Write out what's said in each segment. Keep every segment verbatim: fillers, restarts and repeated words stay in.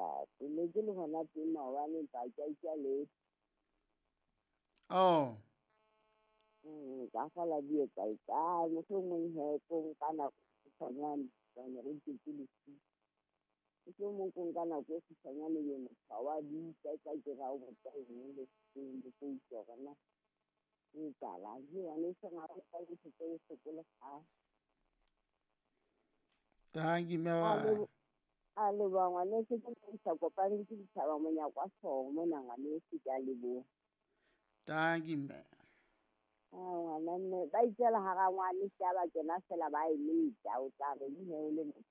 ntate. Ne ke le hona teng maobane empa ha ke a utlwa letho. Oh. Mm, ka kgola di etsa etsang, mohlomong he ko nka nako e kgutshwanyane hobane re iketse lesiu. Mohlomong ko nka nako e kgutshwanyane ebe motho ha wa bitsa e tla ke re ha o botsa eng le eng le tlo utlwa hore na ho etsahalang. Hei ngwaneso ha o utlwa ntho tse bohloko le kgale. Tanki mme wa A lebo- a leboha ngwaneso ke mo isa kopane ke ditjhaba monyako wa hlooho mona ngwaneso ke a leboha. Tanki mme. Ah, ngwana mme ba itjela hara ngwane se ba kena fela ba e leta o tla re he o le motho.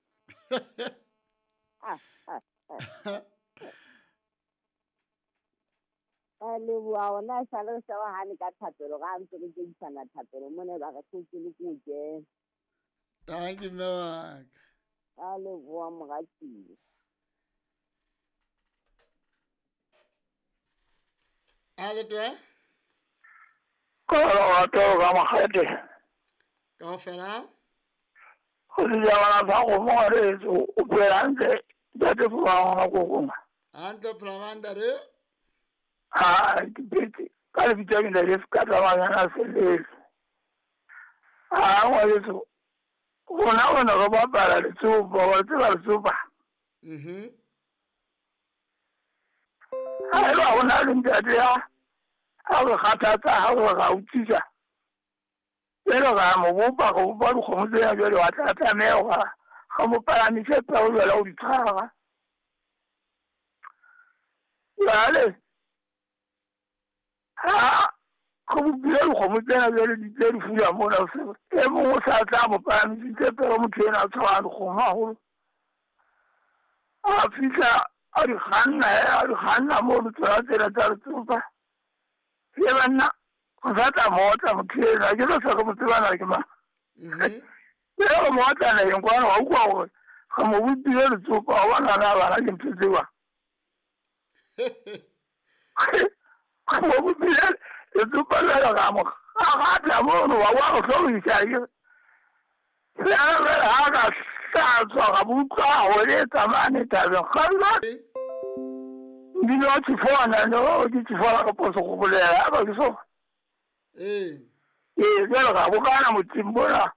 Ah, ah, ah. A leboha ona sale re sa hane ka thapelo ra ntse re kedisana thapelo mona ba re hlotse le ko kena. Tanki mme wa ka. A leboha moratuwa. A le twe? Ka lerato ka makgethe. Kaofela? Go sejabana sa kgomo ngwaneso, o phela hantle ntate Phola ngwana kokong. Hantle Phola mang ntate? Ha ke phetse ka lebitso ke ntate ka tsamaya selele. Ha ngwaneso, rona o ne re bapala letsopa, wa tseba letsopa? Mhm. Ha eba ho na le ntate ya ha re kgathatsa, ha re ra utlwisa. Jwale ra mo bopa, re bopa dikgomo tsena jwale wa tla tlameha hore re mo palamise peo jwale ho di tshwara. Jwale ha re bopile dikgomo tsena jwale di tle di fula mona, e mong o sa tla mo palamisitse peo motho enwa a tshwarang dikgomo haholo. A fihla a di kganna, a di kganna mono tsona tsena tsa letsopa. Ye banna, re sa tla mo otla motho enwa, ke no se re mo tseba na ke mang. Mhm. Jwale re mo otla naheng kwana, wa utlwa hore re mo bopile letsopa, wa bona na bana ke ntho tse jwang. Re mo bopile letsopa jwale ra mo kgaratha mono, wa bona re hlorisa ke. Jwale ha ka hlatswa ra mo utlwa a hweletsa mane thabeng, kgalla. Mmino wa tjhifona, no, ke tjhifona ka phoso go bolela, ha ba ke so. Ee. Ee, jwale ra bokana motseng mona.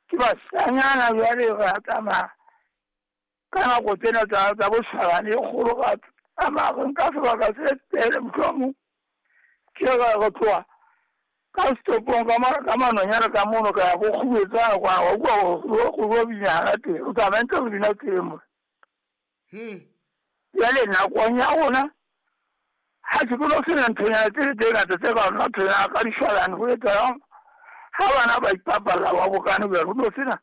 Ke bashanyana jwale ra tsamaya ka nako tsena tsa tsa boshwalane e kgolo ra tsamaya re nka sebaka se telele mohlomong. Ke re re tloha ka setopong ka ma ka manonyana ka mono ka ya go kgubetsana kwana, wa utlwa hore go go bina hana teng, o tsamaya ntse re bina teng mona. Hmm. Jwale nakong ya rona ha sekolo se na nthonyana tse tse ngata tse ka nna nthonyana ka dishwalane ho etsahalang ha bana ba ipapalla ba bokane jwale ho no sena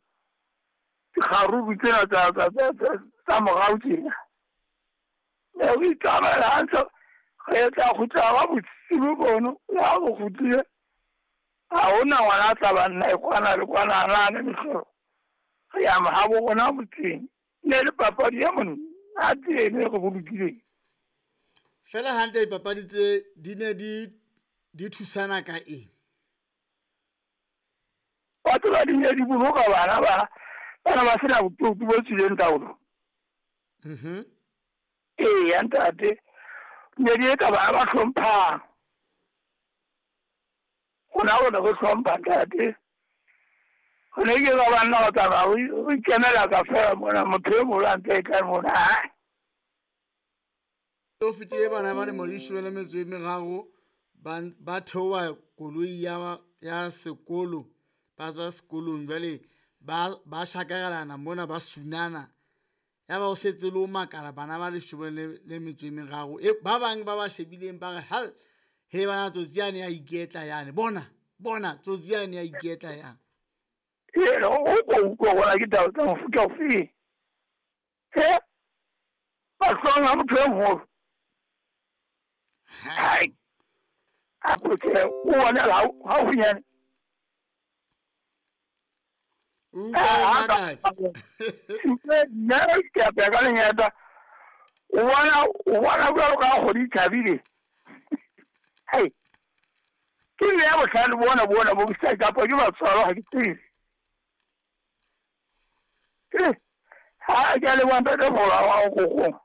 dikgaruru tsena tsa tsa tsa tsa morao tjena. Ne re itsamaela hantle re tla kgutla ka bosiu bono, le ha re kgutlile ha hona ngwana a tla ba nna e kwana le kwana a nahane mehlolo. Re ya mahabo rona motseng, ne le papadi e monate eno e re bolokileng. Fela hantle dipapadi tse di ne di di thusana ka eng? Wa tseba di ne di boloka bana ba bana ba sena botoki bo tswileng taolo. Mhm. Eya ntate, ne di etsa bana ba hlomphang. Rona rona re hlompha ntate. Re ne ke ba banna ba tsamaya o ikemela ka fela mona motho e moholo a ntse e tla mona. O fetile bana ba lemo leshome le metso e meraro ba ba theoha koloi ya ya sekolo, ba tswa sekolong jwale ba ba shakarelana mona ba sunana. Ya ba o setse le o makala bana ba leshome le le metso e meraro. E ba bang ba ba shebileng ba re hal he bana tsotsi yane ya iketla yane. Bona, bona tsotsi yane ya iketla yane. Ee, o ko utlwa hore ke taba tsa mofuta ofe. He, mahlong a motho e moholo. Hai, a ko tjhe, o bonela haufinyane. O utlwa o makatsa. Nna ke a pheha ka lenyata. O bona, o bona jwalo ka ha kgwedi e tjhabile. Hai, ke mme ya bohlale bona bona bo ke kapa ke batswalo ha ke tsebe. Ke ha ke a leboha ntate Phola wa kokong.